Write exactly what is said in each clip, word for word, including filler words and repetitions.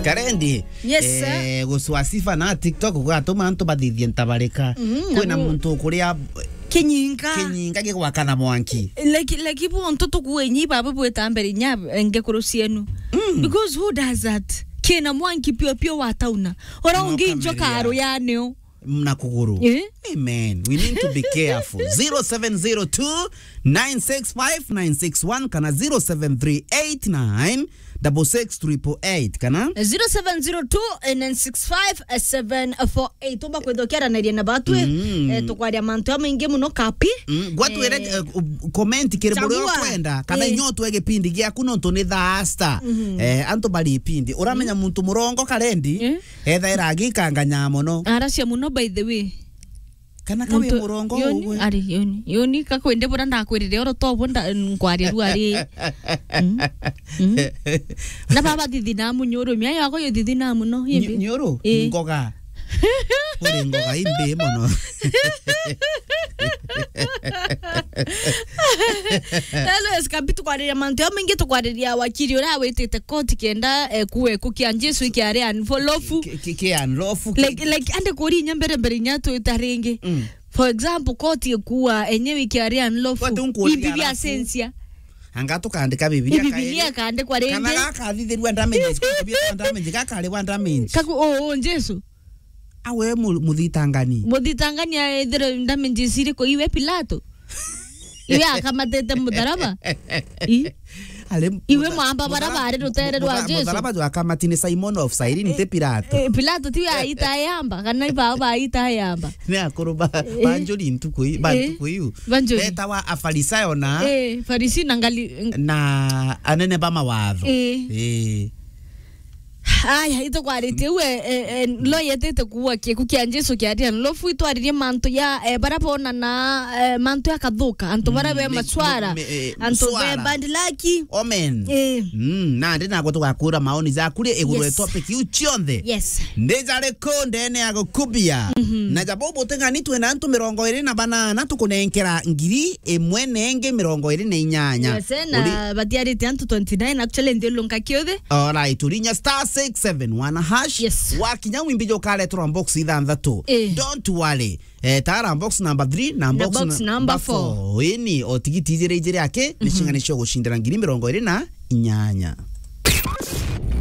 Karendi. Yes, sir. Eh, gucwa sifa na TikTok gugatuma antu bathithie ntabarika. Mhm, kwina na bu- muntu ukuria kinyinga. Kinyinga gigwakana mwanki. Leki, leki bu antu tukuenyi babu bwita mbere inya ngekuru cienu. Mm. Because who does that? Kina mwanki pio pio watauna. Ora ungi njoka aruyanio. Na kuguru. Eh? Amen. We need to be careful. Zero seven zero two, nine six five, nine six one kana zero seven three eight nine double six triple eight kana zero seven zero two, nine six five, seven four eight. Umba kwithokera na riena batwi. Mm. Eh, tukwaria mantu amaingi muno kapi. Mm. Gwatwire, eh, eh, comment kiri buria ukwenda kana eh, inyo twe gipindi giaku nontu ni thaa star. Mhm. Eh, antu bari ipindi. Uramenya muntu murongo Karendi. Eh? Ethaira agikanganya mono. Aracia muno, by the way. Kana kawe murongo yoni, ugwe. Ari yoni. Yoni kakwende bura ndakwirire oro to bo nda-, nkwaria ru ari. Mm. Mm. Na baba thithi na munyuru, mia yako yo thithi na muno, imbi. Nyuru? Eh. Ngoga. Uri ngoga imbi mono. Hello, Eskapi, tukwariria mantu ya maingi, tukwariria wakiri uria witite koti kenda, eh, kuwe kukia Jesu ikiari unlawful. Ki-, ki-, ki unlawful, ki- Like, like, ande kuri inya mbere mbere inya twita ringi. Mm. For example, koti ikuwa enyewe ikiari unlawful. Koti unkuria imbi bia alafu sensia. Anga tukandika Bibilia. Bibilia kairi. Kandikwa ringi. Kana gakathithirua damages, koti bia damage, gakaribwa damage. Kaku, o, o, Jesu. Awe mu-, muthitangani. Muthitangani aethire damages iriku iwe Pilato? Iwe akamatete mutharaba? I? Iwe mwamba bara bari rutere rwa Jesu. Mutharaba jwa akamati ni Simon of Cyrene, ti Pilato. Eh, Pilato tiwe aita yamba, kana ibao baita yamba. Ni akuru ba, eh, banjuri ntuku i-, ba eh, ntuku iu. Banjuri. Betawa Afarisayo na eh, Farisi na ngali- na anene ba mawatho. Eh. Eh. Aya, itukwarite u, eh, eh, eh, lo yetete kuwa kieku kia Jesu kiari unlawful, itwaririe mantu ya, eh, bara bonana, eh, mantu ya kathuka, antu bara be macwara, antu be bad luck. Amen. Eh. Mm, nandi nagwe tugakura maoni jaku ri iguru ya topic iu cionthe. Yes. Ndi jari ku ndene ya gukubia. Mhm. Na jabo buteng'ani twina antu mirongo iri na banana tukunenkera ngiri imwe na ingi mirongo iri na inyanya. Yes, na batiarite antu twenty nine actually nthiulunka kiuthi. Alright, urinya star six seven one hash. Yes. Wakinya wimbi jo karetrwa box ithanthatu. Eh. Don't worry. Eh, tara box number three na box number four. Ini o tigiti ijiri ijiri ake, ni cing'ani cio gucindira ngiri mirongo iri na inyanya.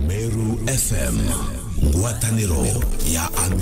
Meru F M, ngwataniro ya Amiru.